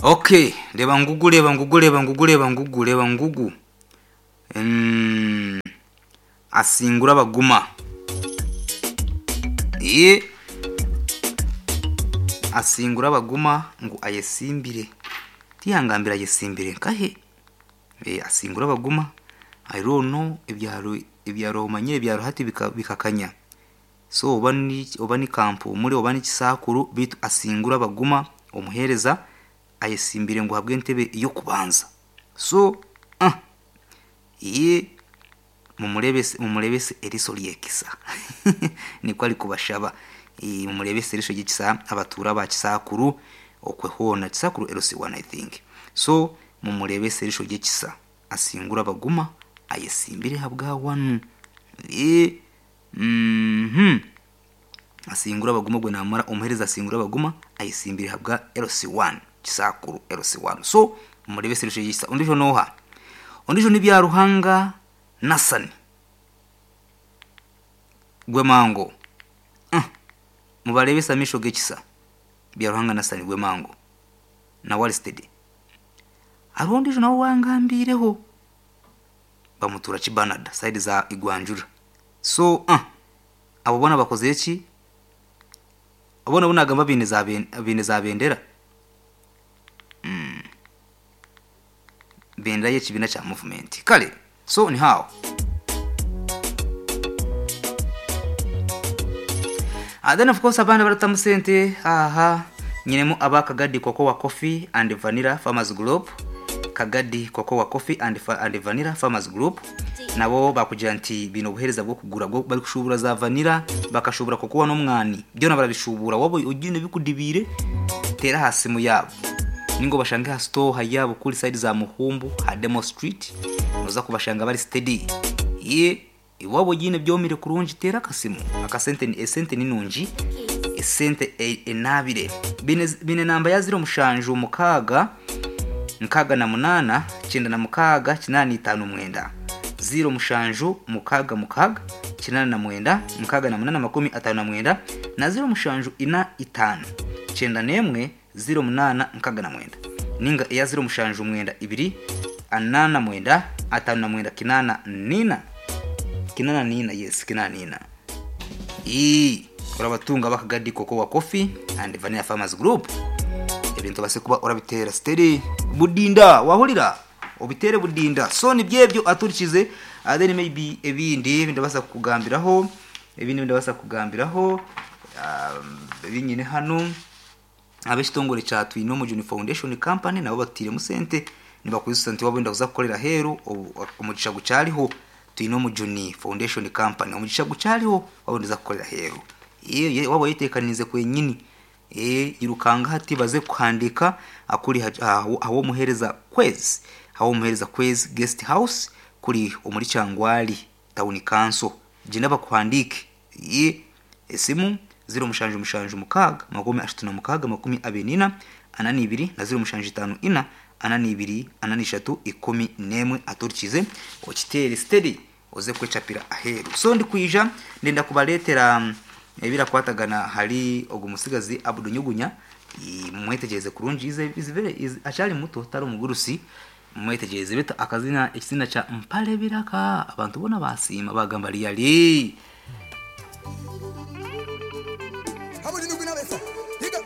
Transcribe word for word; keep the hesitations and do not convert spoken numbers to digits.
Okay, reba ngugu, reba ngugu, reba ngugu, reba ngugu, reba ngugu. Mm, asingura abaguma. Ye asingura abaguma ngo ayesimbire. Tiyangambira ayesimbire nkahe? E, asingura abaguma. I don't know, ebyaro ebyaro omanyire ebyaro hati bikakanya. So oba ni oba ni kampu muri oba ni kisakuru bitu asingura abaguma omuhereza ayesimbire ngo habwe entebe yo kubanza. So ah ye mumurebese mumurebese eriso lyekisa niko ari kubashaba. E, mumurebese eriso lyekisa abatura ba kisakuru okwehona kisakuru L C one I think. So mumurebese eriso lyekisa asingura abaguma ayesimbire habwa wanu. E mhm asingura abaguma gwe namara omuhereza asingura abaguma ayesimbire habwa L C one kisakuru L C one. So mumurebese eriso lyekisa. Ondijo noha ondijo ni bya Ruhanga Nasani Gwemango. Uh, mubarebesa misho gekisa bya Ruhanga Nasani Gwemango na Walstead. Arondijo nawo wangambireho bamutura Kibanada side za Igwanjura. So uh, abo bona bakoze iki? Abona bunagamba bine za bine za bendera. Mm. Bendera y'ekibina kya movement. Kale so ni how. And then of course abana baratamu sente aha nyinemu abakagadi cocoa coffee and vanilla farmers group. Kagadi cocoa coffee and, and vanilla farmers group nabo bakugira nti bino buhereza bwo kugura bwo bari kushubura za vanilla bakashubura cocoa no mwani byo barabishubura wabo ugine bikudibire tera hasi mu yabo ningo bashange ha store hayabo kuri side za Muhumbu ha Demo Street noza kubashanga bari steady ye iwabo gine byomire kurungi tera akasimu akasente ni esente ni nungi esente enabire bine, bine namba ya zero mushanju mukaga mukaga na munana cyenda na mukaga kinani itanu mwenda zero mushanju mukaga mukaga kinani na mwenda mukaga na munana makumi atanu na mwenda na zero mushanju ina itanu cyenda nemwe zero munana mukaga na mwenda ninga iya zero mushanju mwenda ibiri anana mwenda atanu na mwenda kinana nina kinana nina yes kinana nina i urabatunga bakagadi cocoa coffee and vanilla farmers group ebintu base kuba urabitera steady budinda wahurira obitere budinda. So ni byebyo aturikize uh, then maybe ebindi ndabasa kugambiraho ebindi ndabasa kugambiraho um, binyine hano abeshitongore cha Twino Mujuni Foundation Company nabo batire musente nibakuza sente wabo ndakuza kukorera heru omugisha gucyariho Twino Mujuni Foundation Company omugisha gucyariho wabo ndaza kukorera heru ye wabo yitekanize kwenyini e irukanga hati baze kuhandika akuri aho muhereza kwezi aho muhereza kwezi guest house kuri omuri Cyangwali town council jina bakuhandike ye esimu zero mushanju mushanju mukaga makumi ashatu na mukaga makumi abenina anani ibiri na zero mushanju itanu ina anani ibiri anani ishatu ikumi nemwe aturikize okitere steady oze kwechapira aheru. So ndi kuija ndenda kubaletera ebira kwatagana hari ogumusigazi Abdu Nyugunya mwetegereze kurungi ize izivere achali muto tari umugurusi mwetegereze beta akazina ekizina cha Mpale Biraka abantu bona basima bagamba liyali. Abdu Nyugunya besa. Higa.